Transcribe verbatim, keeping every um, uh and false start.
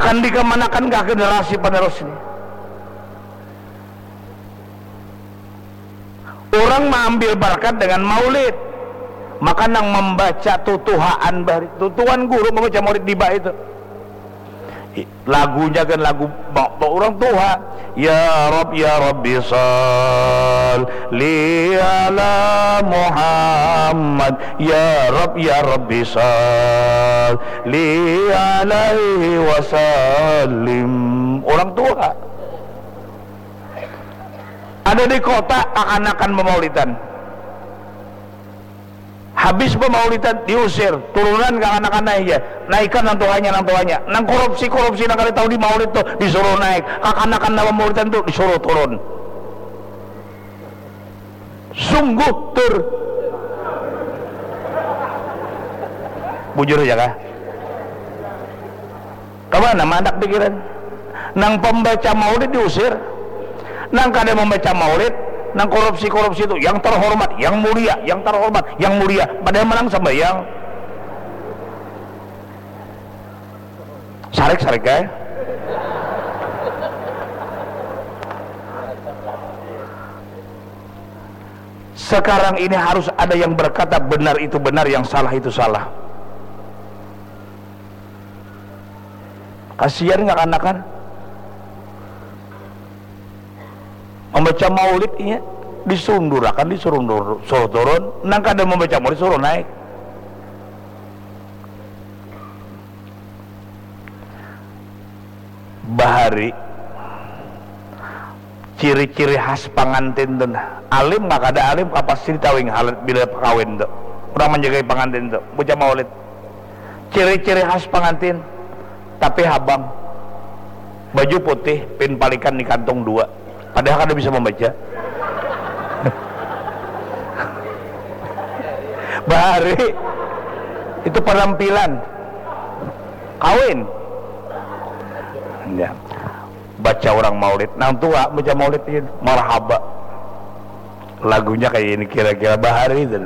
Kan dikemanakan kah generasi penerus ini? Orang maambil barakat dengan maulid. Maka nang mambaca tutuhaan bari. Tutuan guru mambaca maulid diba itu. Lagunya kan lagu ba-, ba-, orang tuha. Ya Rab, ya Rabbi salli ala Muhammad. Ya Rab, ya Rabbi salli alaihi wasallim. Orang tuha. Ada di kota, kakanakan bamaulidan. Habis bamaulidan, diusir, turunan kakanakan naik ja. Naikan nang tuhanya, nang tuhanya. Nang korupsi-korupsi nang kada tahu di maulid tu disuruh naik. Kakanakan nang bamaulidan tu disuruh turun. Sungguh tur. Bujur aja kah? Kamana mandak pikiran? Nang pembaca maulid diusir. Nang kada membaca maulid, nang korupsi-korupsi itu yang terhormat, yang mulia, yang terhormat, yang mulia. Padahal manang sambayang. Sarik, sarik, eh. Sekarang ini harus ada yang berkata benar itu benar, yang salah itu salah. Kasihan kakanakan. Membaca maulid, iya, disundurakan, disuruh nur-, suruh turun. Nang kada membaca maulid suruh naik. Bahari, ciri-ciri khas pangantin tu nah. Alim kah kada alim kah, pasti ditawing halat bila kawin tu. Urang manjagai pangantin tu, baca maulid. Ciri-ciri khas pangantin, tapi habang, baju putih, pin palikan di kantung dua. Padahal kada bisa membaca. Bahari itu penampilan kawin. Ya. Baca orang maulid, nang tua baca maulid ini marhaba. Lagunya kayak ini kira-kira bahari itu.